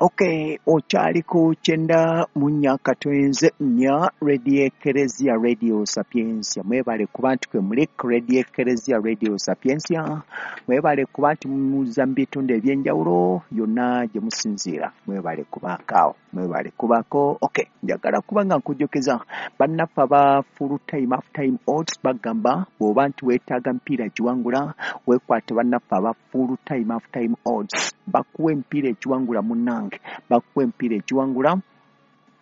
Okay, okyali ku 94.4 Radio Ekereziya Radio Sapientia. Mwebale kuba nti kwe muli Radio Ekereziya Radio Sapientia. Mwebale kuba nti muza mu bitundu ebyenjawulo yonna gye musinziira. Mwebale kubaako awo, mwebale kubaako. Okay, njagala kuba nga nkujjukiza bannaffe aba full time half time odds bagamba bw'oba nti weetaaga mpiira giwangula, weekwate bannaffe aba full time half time odds bakuwa empiira egiwangula munnange, bakuwa empiira egiwangula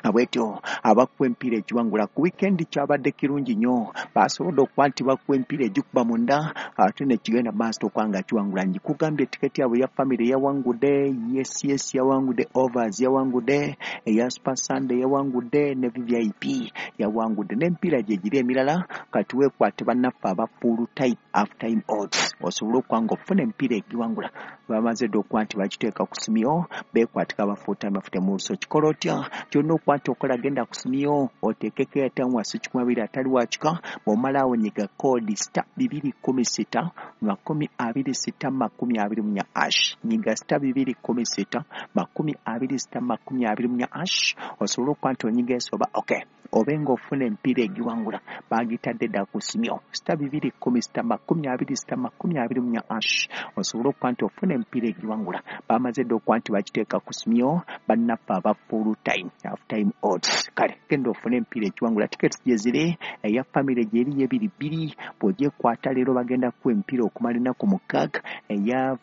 abwetyo abakuwa empiira egiwangula ku wiikendi kyabadde kirungi nnyo, basobodde okuba nti bakuwa empiira egikuba munda ate nekigenda maaso okuba nga kiwangula. Nkikugambye tiketi yaabwe eya famire yawangudde, yes yes yawangudde, overs yawangudde, eya Super Sunday yawangudde ne VVIP yawangudde n'emipiira gye giri emirala. Kati weekwate bannaffe aba full time half time odds osobole okuba nga ofuna emipiira egiwangula. Bamaze dda okuba nti bagiteeka ku simyo, beekwatika aba full time half time odds. Okikola otya? Kyonna okuba nti okola genda ku simyo oteekeko airtime wansi 20 atali wakika, bw'omala awo nyiga koodi *216 26 24 hash, nyiga *216 26 24 hash osobola okuba nti onyiga ensoba. Okay, obe ng'ofuna emipiira egiwangula bagitadde dda ku simyo *216 26 24 hash osobola okuba nti ofuna emipiira egiwangula. Bamaze dda okuba nti bagiteeka ku simyo bannaffe aba full time half time odds. Kale genda ofune emipiira egiwangula, tickets gye ziri, eya famire gyeri y'ebiri bbiri, bw'ogyekwata leero bagenda kuwa emipiira okumala ennaku 6, eya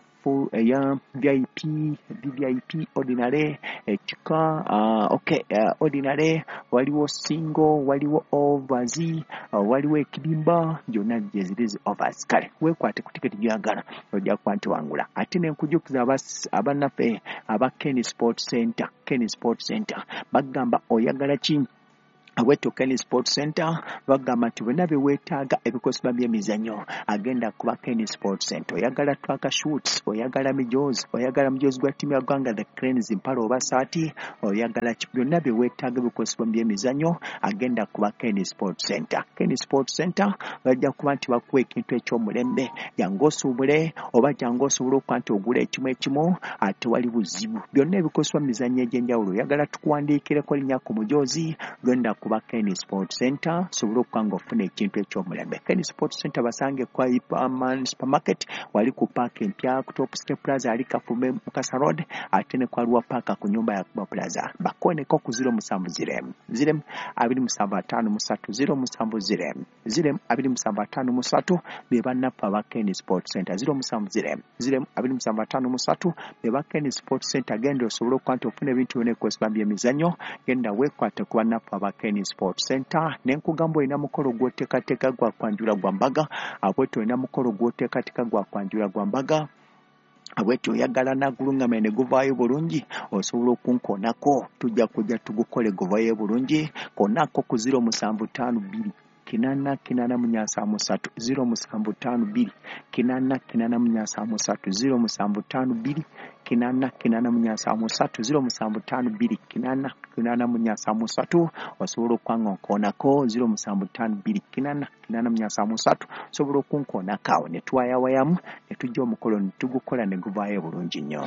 eya VIP, VVIP, ordinary, ekika okay, ordinary, waliwo single, waliwo overs, waliwo ekibimba, gyonna gye ziri zi overs. Kale weekwate ku tiketi gy'oyagala ojja kuba nti wangula. Ate ne nkujjukiza abannaffe aba Ken Sport Center, Ken Sport Center bagamba oyagala ki? Abwetyo Ken Sport Center bagamba nti bonna bye weetaaga ebikozesebwa by'emizannyo agenda kuba Ken Sport Center. Oyagala track shoots, oyagala mijoozi, oyagala mujoozi gwa ttiimu ya ggwanga the Cranes, mpale oba saati, oyagala ki, byonna bye weetaaga ebikozesebwa mu by'emizannyo agenda kuba Ken Sport Center. Ken Sport Center bajja kuba nti bakuwa ekintu eky'omulembe, jangu osuubule oba jangu osobole okuba nti ogula ekimu ekimu, tewali buzibu. Byonna ebikozesebwa mu mizannyo egy'enjawulo, oyagala tukuwandiikireko linnya ku mujoozi, genda kuba Ken Sport Center osobole okuba ng'ofuna ekintu eky'omulembe. Ken Sport Center basange kwa Ipaman Supermarket, wali ku paaka empya ku Top Step Plaza ali Kafume Mukasa Road, ate ne kwa Lwa Paaka ku nyumba ya Kuba Plaza. Bakoneko ku 070 0 27 53 070 0 27 53 be bannaffe aba Ken Sport Center. 070 0 27 53 be ba Ken Sport Center. Genda osobole okuba nti ofuna ebintu byonna ebikozesebwa by'emizannyo, genda weekwate ku bannaffe aba Ken Sport Center. Ne nkugamba olina mukolo gw'oteekateeka gwa kwanjula gwa mbaga, abwetyo olina mukolo gw'oteekateeka gwa kwanjula gwa mbaga, abwetyo oyagala nagulungamya ne guvaayo bulungi, osobola okunkoonako, tujja kujja tugukole guvaayo bulungi. Koonako ku 0752 8 8 4 3 0752 8 8 4 3 0752 8 8 4 3 0752 8 8 4 3 osobola okuba nkoonako 0752 8 8 4 3 osobola okunkoonako awo ne twayawayamu ne tujja omukolo ne tugukola ne guvaayo bulungi nnyo.